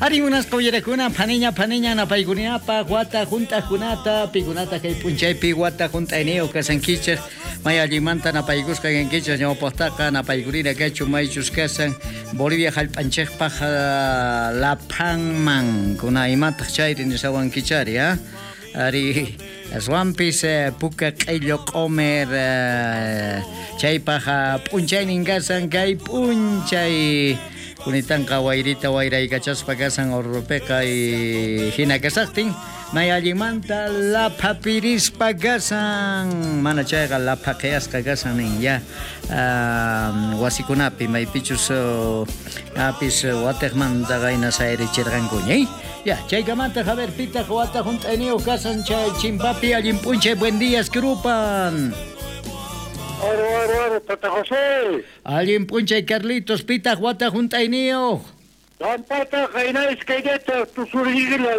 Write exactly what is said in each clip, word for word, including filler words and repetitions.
Ari munasqa uyarakuna phaniña phaniña napaykunapaq wata hunt'aqkunata pikunata kay p'unchaypi wata hunt'ayniyuq kasankichik may allinmanta napaykusqa kankichik ñawpaqtaqa napaykurina kachu maychus kasan Bolivia hallp'anchikpaq laphanman kuna imataq chayri nisawankichari ha ari aswanpis puka q'illu q'umir chaypaq p'unchaynin kasan kay p'unchay kunitanqa wayrita wayraykachaspa kasan Orrupiqa hina kasaqtin may allinmanta laphapirispa kasan mana chayqa laphaqiyasqa kasan nin ya wasikunapi maypichus apis watiqmanta qayna sayrichirqankuña ya chaykamanta a ver pitaq wata hunt'ayniyuq kasan chay chimpapi allin p'unchay buen días krupan. Oro, oro, oro, Tata José. Allin p'unchay Carlitos, pitaq wata hunt'ayniyuq. Tampata qayna iskaynata tusuriyla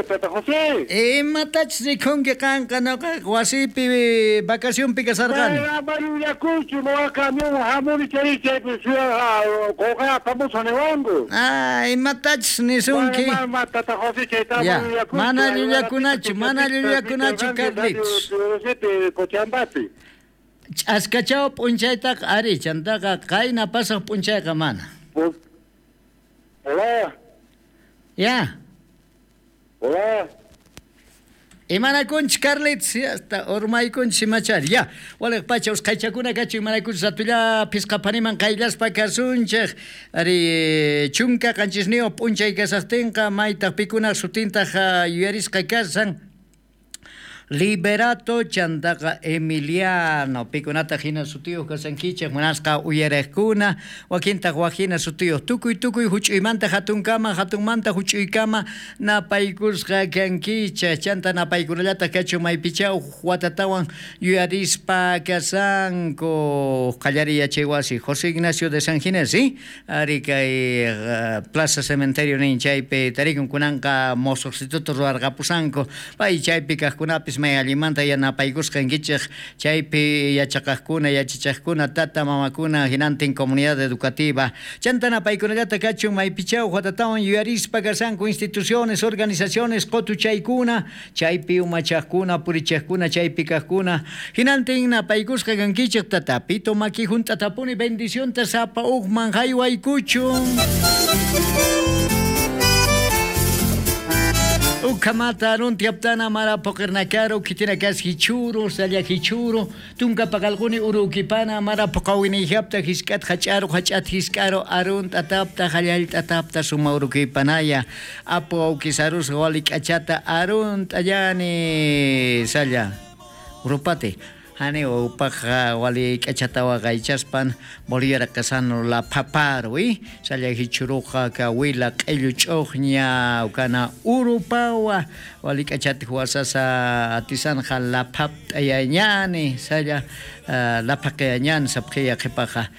Tata José. Imatachus rikhunki qanqa nuqa wasipi vacacionpi kasarqani. Ama llullakunchu nuqa camión hamuni chay chaypi qullqa apamusaq niwanku. Ah, imatachus nisunki. Mana Tata José chayta ama llullakunchu. Mana llullakunachu, mana llullakunachu Carlitos. Cochabambapi. Ch'askachaw p'unchaytaqa ari chantaqa qayna pasaq p'unchayqa mana. Hola. Ya. Hola. Imanakunchik Carlitos, hasta urmaykunchik imachari. Ya, waliq pacha usqhaychakuna kachu imanakunchik ratulla phisqa phaniman qayllaspa kasunchik. Ari chunka qanchisniyuq p'unchay kasaqtinqa maytaq pikunaq sutintaq yuyarisqa kasan. Liberato chantaqa Emiliano pikunata hina sutiyuq kasankichik munasqa uyariqkuna wakintaq wak hina sutiyuq tukuy tukuy huch'uymanta hatunkama hatunmanta huch'uykama napaykusqa kankichik chanta napaykunallataq kachu maypichaw watatawan yuyarispa kasanku qallariy yachay wasi José Ignacio de San Ginés ¿sí? Ari kay Plaza Cementerio nin chaypi tarikun kunanqa mosoq instituto ruwarqapusanku pay chaypi kaqkunapis may allinmanta yanapaykusqa kankichik chaypi yachaqaqkuna yachachaqkuna tata mamakuna hinantin comunidad educativa chanta napaykunallata kachun maypichaw watatawan yuyarispa kasanku instituciones organizaciones qutuchaykuna chaypi umachaqkuna purichaqkuna chaypi kaqkuna hinantin napaykusqa kankichik tata pito maki hunt'atapuni bendicionta sapa uqman haywaykuchun. Ukamata aruntiaptana mara poqernakaro kitinakas hichuro salla hichuro tunka paqalquni urukipana mara poqawinijapta hisk'at hach'aro hach'at hisk'aro arunt atapta hallallta atapta suma urukipanaya apu awkisarus wali k'achata arunt allani salla urupati hani upaq wali k'achata waqaychaspan Bolivia kasano la paparu salla hichuruqa kawila q'illu ch'uqña ukana urupawa wali k'achata huasasa atisanja la papt'ayañani salla la paqayañani sapqiya qhipaqa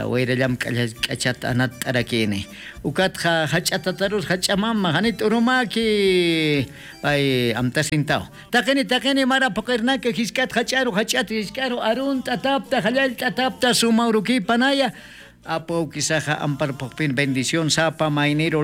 wayrallam k'achata anata t'arakini ukatqa hach'atatarus hach'amama hanit urumaki pay amtasintaw taqini taqini mara puqirnaka hisk'at hach'aru hach'at hisk'aru arunt atapta hallallta atapta suma urukipanaya apu awkisaqa amparpuqpin bendición sapa mayniro.